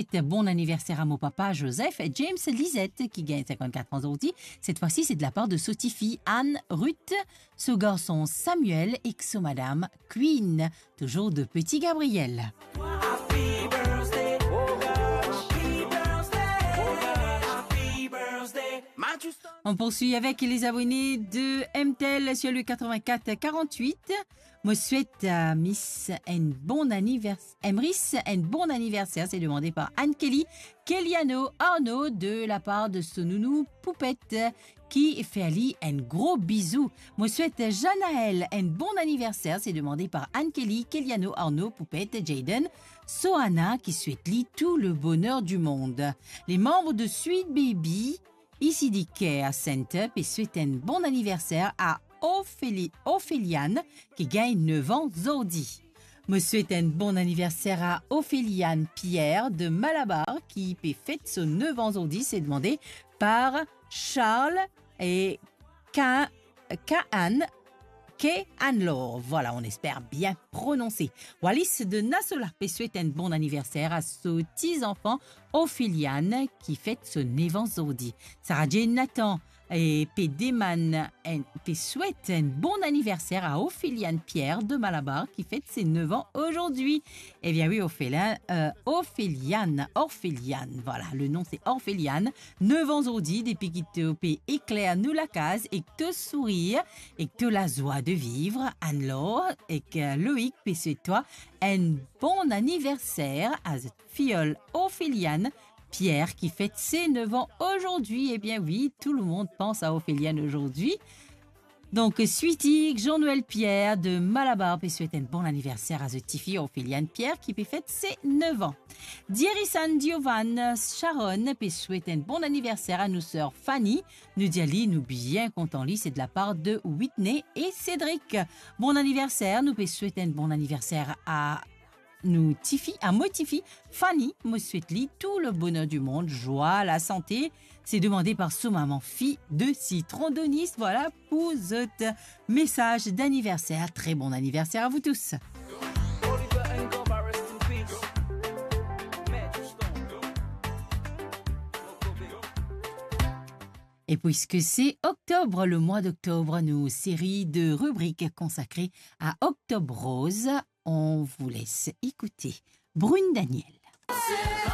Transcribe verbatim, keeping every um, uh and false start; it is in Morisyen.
swet bon aniverser a mo papa Joseph James Lisette, ki gagn cinquante-quatre an zordi. Cette fois-ci, c'est de la part de so tifi Anne Ruth, so garson Samuel ek so madam Queen, toujours de Petit Gabriel. Happy birthday, happy birthday, happy birthday. On poursuit avec les abonnés de M T L sur le quatre-vingt-quatre quarante-huit. Mo swet a Miss enn bon anivers-, Emrys enn bon aniverser, c'est demandé par Anne-Kelly Keliano Arnaud de la part de so nounou Poupette, ki fer li enn gro bizou. Mo swet Janaël enn bon aniverser, c'est demandé par Anne-Kelly Keliano Arnaud, Poupette, Jayden, Soana, ki swet li tout le bonheur du monde. Les membres de Sweet Baby, Ici di Care Center, pe swet enn bon aniverser a Ophélie-, Ophéliane, ki gagn nef an zordi. Mo swet enn bon aniverser a Ophéliane Pierre de Malabar, ki pe fet so nef an zordi, c'est demandé par Charles et Ka-, Kaan K. Anlor, voilà, on espère bien prononse. Wallis de Nasola pe swet enn bon aniverser a so ti zanfan Ophéliane, ki fet so nef an zordi. Sarah Jane Nathan, eh, pe demann enn, pe swet enn bon aniverser a Ophéliane Pierre de Malabar, ki fet se nef an ozordi. Ebien wi, Ophéliane, euh, Ophéliane, Orphéliane, voilà, le nom c'est Orphéliane. Nef an zordi, depi ki to pe ekler nou lakaz ek to sourir, ek to lazwa de vivre, Anne-Laure ek, euh, Loïc pe swet twa enn bon aniverser a zot fiyol Ophéliane Pierre, ki fet se nef an ozordi. Ebien wi, tout le monde pense à Ophéliane aujourd'hui. Donk, Sweetie, Jean-Noël Pierre de Malabar pe swet enn bon aniverser a zot tifi Ophéliane Pierre, ki pe fet se nef an. Dierisan Diovan Sharon pe swet enn bon aniverser a nou ser Fanny. Nou dir li, nou bien kontan li, se de la par de Whitney e Cédric. Bon aniverser, nou pe swet enn bon aniverser a nou tifi, a mo tifi, Fanny, mo swet li tout le bonheur du monde, joie, la santé. Se demande par so mama, fi de Citron Donis. Voilà pour zot mesaz d'aniverser. Très bon anniversaire à vous tous. Et puisque c'est octobre, le mois d'octobre, nos séries de rubriques consacrées à Octobre Rose, on vous laisse écouter Brune Daniel.